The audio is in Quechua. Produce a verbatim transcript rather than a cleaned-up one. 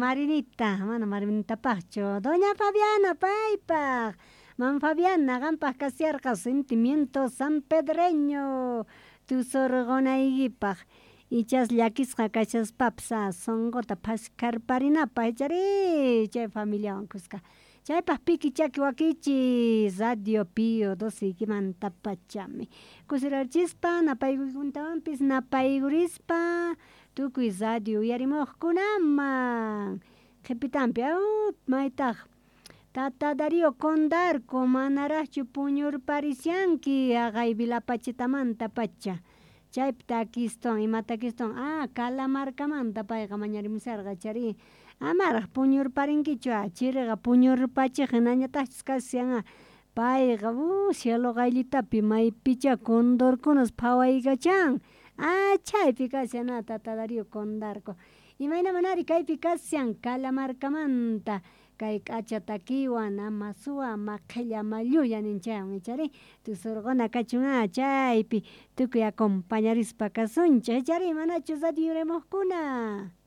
Marinita mana Marinitapaqchu doña Fabiana paypaq mam Fabiana qampaq kasharqa sentimiento sanpedreño tusurqunaykipaq ichas llakisqa kashaspapas a sunquta phaskarparinapaq ichari chay familiawan kuska chaypaq piki chaki wakichiy radio Pio Doceykimantapachami kusirarichispa napaykuykunatawanpis napaykurispa tukuy radio uyarimuqkunaman qhipitanpi aw maytaq tata Darío Condarco manaraqchu puñurparishanki haqay Vilapachitamanta pacha chaypi takistuwan ima takistuwan ah Calamarcamanta payqa mañarimusharqa chari amaraq puñurparinkichu chiriqa puñurpachiq hinañataqchus kashan payqa uh cielo qayllitapi maypicha condorkunas phawaykachan ah chaypi kashan tata Darío Condarco imayna manari kaypi kashan Calamarcamanta kay k'acha takiwan ama suwa ama qhilla ama llulla nin chaywan ichari tusurquna kachun a chaypi tukuy acompañarispa kasunchik ichari manachu radio yurimuqkuna.